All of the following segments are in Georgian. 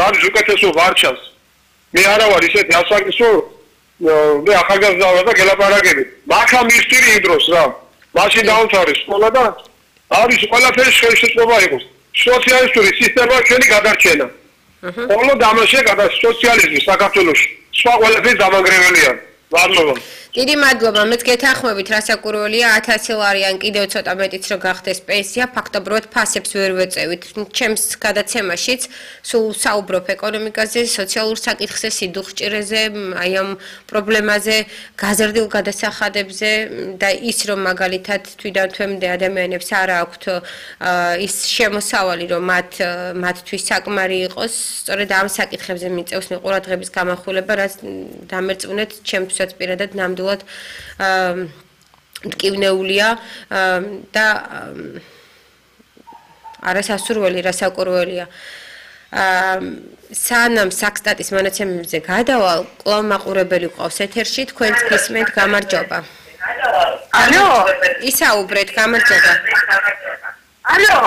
არის უკეთესო ვარჩას. მე არა ვარ ისეთი ასაკისო მე ახალგაზრდა ვარ და გელაპარაკები. მაქამ მისტირი იმ დროს რა. მაშინ დაუთავრე სკოლა და არის ყველაფერი შეიძლება იყოს. სოციალისტური სისტემა ჩვენი გადარჩენა. όλო დამაშე გადა სოციალიზმი საქართველოში. სხვა ყველაფერი დამანგრეველია. მადლობა. დიდი მადლობა. მეც გეთანხმებით, რასაკურველია 1000 ლარი ან კიდევ ცოტა მეტიც რო გახდეს პენსია, ფაქტობრივად ფასებს ვერ ვეწევით. ჩემს გადაცემაშიც სულ საუბრობ ეკონომიკაზე, სოციალურ საკითხზე, სიდუხჭირეზე, აი ამ პრობლემაზე, გაზრდილ გადასახადებზე და ის რომ მაგალითად თვითონ ადამიანებს არ აქვთ ის შემოსავალი რომ მათთვის საკმარი იყოს, სწორედ ამ საკითხებზე მიწევს ყურადღების გამახვილება, რაც დამერწმუნეთ ჩემთვისაც პირადად ნამდვილად მტკივნეულია და არასასურველი რასაკურველია. სანამ საქსტატის მონაცემებზე გადავალ, კვლავ მაყურებელი ყავს ეთერში, თქვენც გისმენთ, გამარჯობა. ალო, ისაუბრეთ, გამარჯობა. ალო.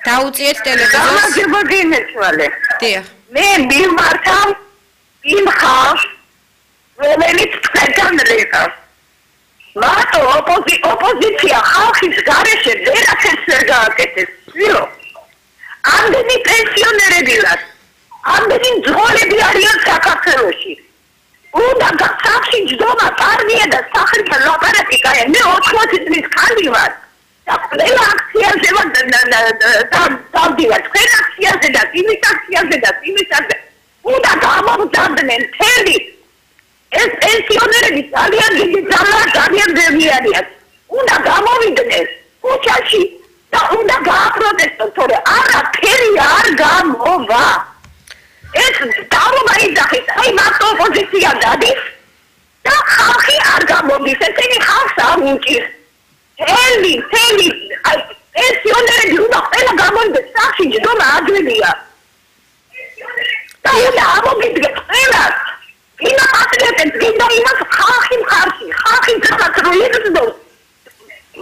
დაუწიეთ ტელევიზორს. გამარჯობა გინეცვალე. დიახ. მე მიმართავ იმ ხალხს რომელიც თქვენთან რეკავს. მარტო ოპოზიცია ხალხის გარეშე ვერაფერს ვერ გააკეთებს. ვიო. ამდენი პენსიონერები ვართ. ამდენი მძღოლები არიან საქართველოში. უნდა გასახში ჯდომა პარტია და სახალხო ლაპარაკია. მე 80 წლის ხანი ვარ. და ყველა აქციაზე დავდივარ. თქვენ აქციაზე და იმის აქციაზე და იმის აქციაზე. უნდა გამოვძაბნენ მთელი ეს პენსიონერები ძალიან დიდი ძალიან ძემი არიან. უნდა გამოვიდნენ ქუჩაში და უნდა გააპროტესტონ, თორე არაფერი არ გამოვა. ეს დაობა იძახის, აი მარტო ოპოზიცია დადის და ხალხი არ გამოდის, ესენი ხალხს არ უჭირს. მთელი პენსიონერები უნდა ყველა გამოვიდეს, სახში ჯდომა აძლევია. და უნდა ამოგიდგეთ ყველას. ინა პატრიოტებს გინდა იმას ხალხი მხარში, ხალხი საქართველოს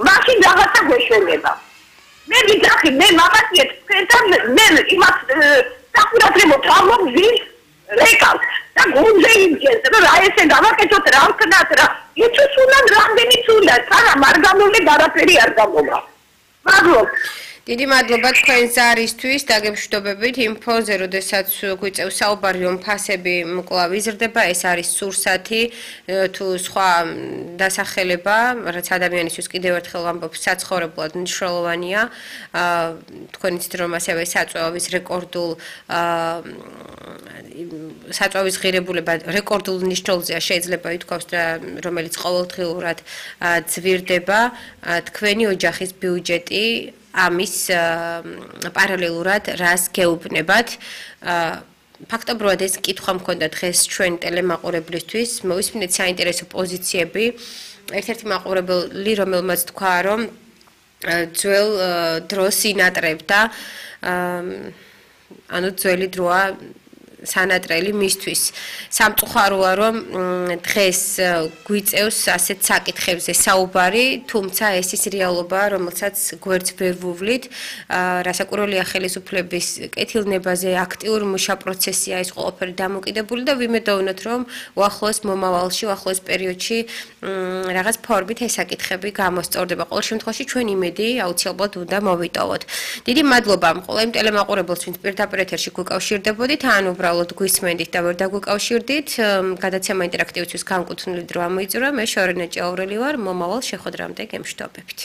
მაშინ რაღაცა გვეშველება. მე ვიძახი, მე მამაციეთ თქვენთან, მე იმას საკურათრებო თავმოგზის რეკავს და გუნდზე იმჯერს, რომ რა ესე გავაკეთოთ, რა ვქნათ, რა იცის უნდა რამდენიც უნდა, სანამ არ გამოვლე არაფერი არ გამოვა. მადლობა. დიდი მადლობა თქვენ ზარისთვის, დაგემშვიდობებით ინფოზე, როდესაც გვიწევს საუბარი რომ ფასები კვლავ იზრდება, ეს არის სურსათი თუ სხვა დასახელება, რაც ადამიანისთვის კიდევ ერთხელ ვამბობ, საცხოვრებლად მნიშვნელოვანია. თქვენ იცით რომ ასევე საწვევის საწვევის ღირებულება რეკორდულ ნიშნულზეა შეიძლება ითქვას და რომელიც ყოველდღიურად ძვირდება, თქვენი ოჯახის ბიუჯეტი ამის პარალელურად რას გეუბნებათ. ფაქტობრივად ეს კითხვა მქონდა დღეს ჩვენ ტელემაყურებლისთვის, მოვისმინეთ საინტერესო პოზიციები. ერთ-ერთი მაყურებელი, რომელმაც თქვა, რომ ძველ დროს ინატრებდა, ანუ ძველი დროა სანატრელი მისთვის. სამწუხაროა რომ დღეს გვიწევს ასეთ საკითხებზე საუბარი, თუმცა ეს ის რეალობა, რომელსაც გვერდს ვერ ვუვლით, რასაკურველია ხელისუფლების კეთილნებაზე აქტიურ მუშა პროცესია ეს ყველაფერი დამოკიდებული და ვიმედოვნოთ რომ უახლოეს მომავალში, უახლოეს პერიოდში რაღაც ფორმით ეს საკითხები გამოსწორდება. ყოველ შემთხვევაში ჩვენ იმედი აუცილებლად უნდა მოვიტოვოთ. დიდი მადლობა ყველა იმ ტელემაყურებელს, ვინც პირდაპირ ეთერში გვიკავშირდებოდით, ან უბრალოდ გვისმენდით და ვერ დაგვიკავშირდით. გადაცემა ინტერაქტივისთვის განკუთვნილი დრო ამოიწურა. მე შორენა ჭაურელი ვარ. მომავალ შეხვედრამდე გემშვიდობებით.